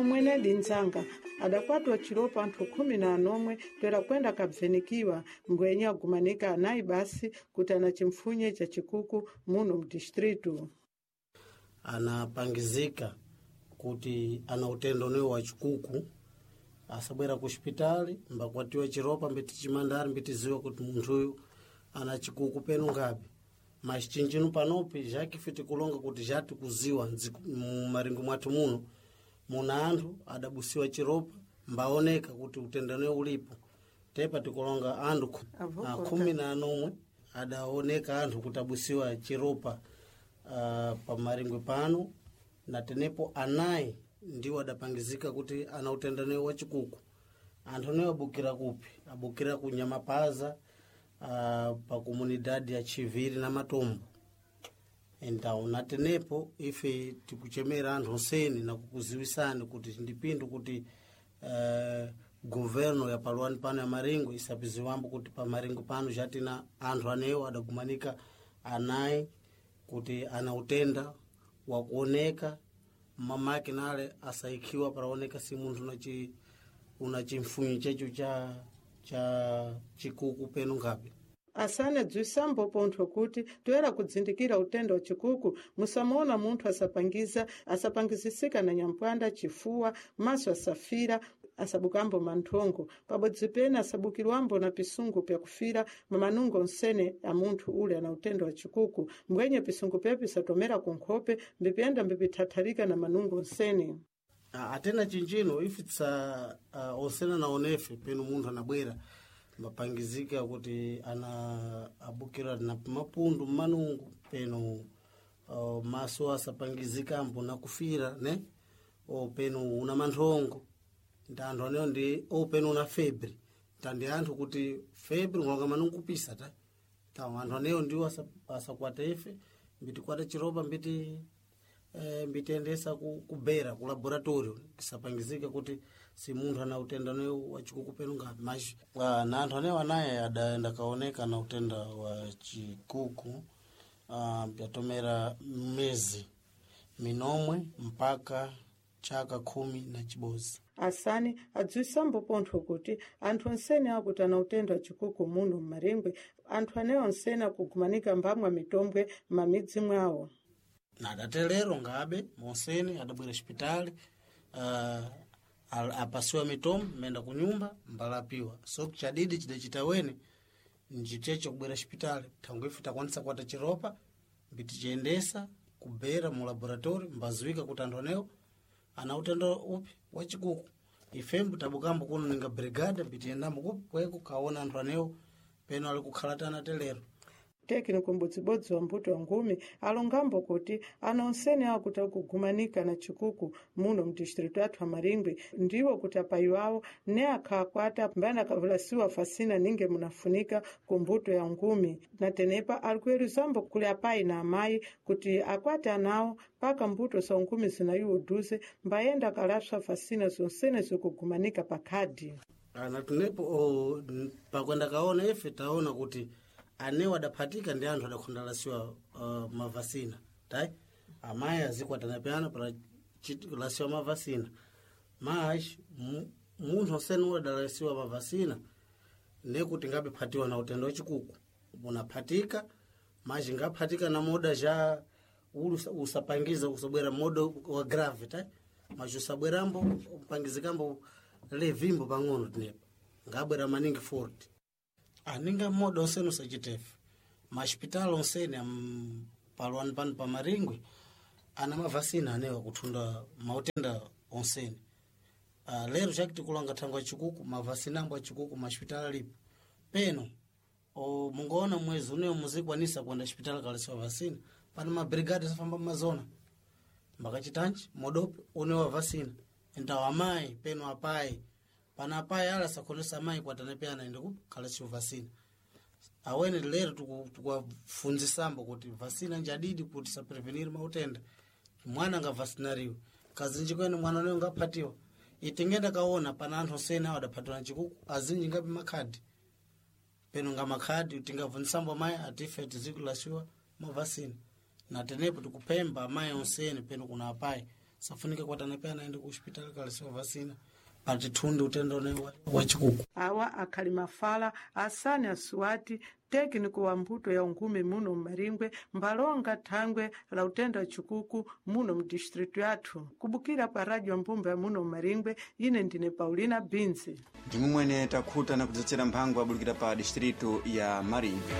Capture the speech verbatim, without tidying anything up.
Mwenedi nzanga adakwatiwa chilopa anthu khumi na anomwe toera kwenda kabvenikiwa mbwenye agumanika anayi basi kuti ana chimpfunye cha chikuku muno mdistritu. Anapangizika kuti ana utendo unewo wa chikuku asabwera ku xipitali mbakwatiwa chiropa mbiti chimandari mbitiziwa kuti munthuyu ana chikuku penu ngapi. Mas chinjino panopi jakife tikulonga kuti jatikuziwa mumaringo mwathu muno muna anthu adabusiwa chiropa mbaoneka kuti utendo ulipo tepa tikulonga anthu khumi na anomwe adaoneka anthu kuti abusiwa chiropa uh, pamaringwe pano na tenepo anayi ndiwo adapangizika kuti ana utendane wa chikuku. Anthu anewo abukira kupi? Abukira ku Nyamapaza, uh, pa komunidade ya Chiviri na Matombo. Então na tenepo ife tikuchemera anthu onseni na kukuziwisani kuti ndipindu kuti uh, governo ya paluani pano ya Maringo isapiziwambo kuti pa Maringo pano jatina anthu anewo adagumanika anayi kuti ana utenda wakuoneka mamake nale asaikiwa paraoneka si munthu unachi una chimfunyi checho cha cha chikuku penu ngapi. Asane dziwisambo pontho kuti toera kudzindikira utenda wa chikuku musamona munthu asapangiza asapangizisika na nyampwanda chifuwa maso asafira asabukambo manthongo pabodzi pene asabukirwambo na pisungu pyakufira mamanungo onsene a munthu ule ana utenda wa chikuku mbwenye pisungu pyapi pisatomera kunkhope mbipyenda mbipithathalika na manungo onsene. Atena chinjino ife tsa uh, osena na onefe penu munthu anabwera mapangizika kuti ana abukira na mapundu mmanungu penu uh, maso asapangizikambo na kufira ne o penu una manthongo nda anthu anewo ndi o penu una febre tandi anthu kuti febre ngalonga manungu kupisa ta ta anthu anewo ndiwo asakwata ife mbitikwata chiropa mbiti eh, mbitiyendesa ku, kubera ku laboratorio tisapangizike kuti si munthu ana utenda unewu wa chikuku penu ngapi mas ah, na anthu anewo anaye adaenda kaoneka na utenda wa chikuku ah, yatomera mezi minomwe mpaka chaka khumi na chibozi. Asani adziwisambo pontho kuti anthu onsene akuti ana utenda wa chikuku muno mmaringwe anthu anewo onsene akugumanika mbamwa mitombwe m'mamidzi mwawo. Na adatelero ngabe monsene adabwera xipitali uh, apasiwa mitombo menda kunyumba mbalapiwa so chadidi chidachita wene njichecho kubwera xipitali thangwe ife takwanisa kuwata chiropa mbitichiyendesa kubera mu laboratorio mbaziwika kuti anthu anewo ana utenda upi wa chikuku. Ifembo tabukambo kuno ninga brigada mbitiyendambo kupi kweko kaona anthu anewo peno ali kukhala tana telero. Técnico mbodzibodzi wa mbuto wa ngumi alongambo kuti ana onsene akuti akugumanika na chikuku muno mdistritu athu amaringwe ndiwo kuti apayi wawo ne akhakwata mbana akavulasiwa fasina ninge munafunika ku mbuto ya ngumi na tenepa ali kuyeruzambo kuli apayi na amayi kuti akwate anawo paka mbuto za ngumi zinayiwo uduze mbayenda akalapsa fasina zonsene zikugumanika pa khadi. Ana tunepo oh, pakwenda kaona ife taona kuti anewo adaphatika ndi anthu adakhondalasiwa uh, mavasina tai amayi azikwatana para lasiwa mavasina mas munthu onsene adalasiwa mavasina nekuti ngabe phatiwa na utenda wachikuku unaphatika mas ngaphatika na moda ja uli usapangiza usabwera moda wa grave tai mas usabwerambo upangizikambo levimbo pang'ono tinepa ngabwera maningi forte aninga moda onsene usachitefe maxipitali onsene paluani pano pa Maringwe ana mavasina anewa kuthunda mautenda onsene. Uh, lero chakitikulanga thangwe achikuku mavasina ambo achikuku maxipitali alipo peno o, mungaona mwezi unewo muzikwanisa kuenda xipitali kalesiwa vasina pano mabrigade safamba mmazona mbakachitanji modope unewa vasina entawo amayi peno apayi pana apayi ala sakhonesa amayi kwatana pe anaende kukalesiwa vasina awene lero tukuwafunzisambo kuti vasina njadidi kuti saprevenir mautenda mwana ngavasinariwe kazinji kwene mwana uneyo ngaphatiwa itingenda kaona pana anthu osene awo adaphatiwa na chikuku azinji ngapi makhadi peno nga makhadi tingavunzisambo amayi atife tizikulasiwa mavasina na tenepo tikupemba amayi onsene peno kuna apayi. Safunika kuatana pyana aende ku hospitali kalasiwa vasina patithunde utenda une wa- wa chikuku. Awa akhali mafala asani asuwati técnico wa mbuto ya ungume muno mmaringwe mbalonga thangwe la utenda wa chikuku muno mdistritu yathu. Kubukira pa radio ya mbumba ya muno mmaringwe, ine ndine Paulina Binzi. Ndimwe mwene takhuta na kudzetsera mphango abulukira pa distritu ya Maringwe.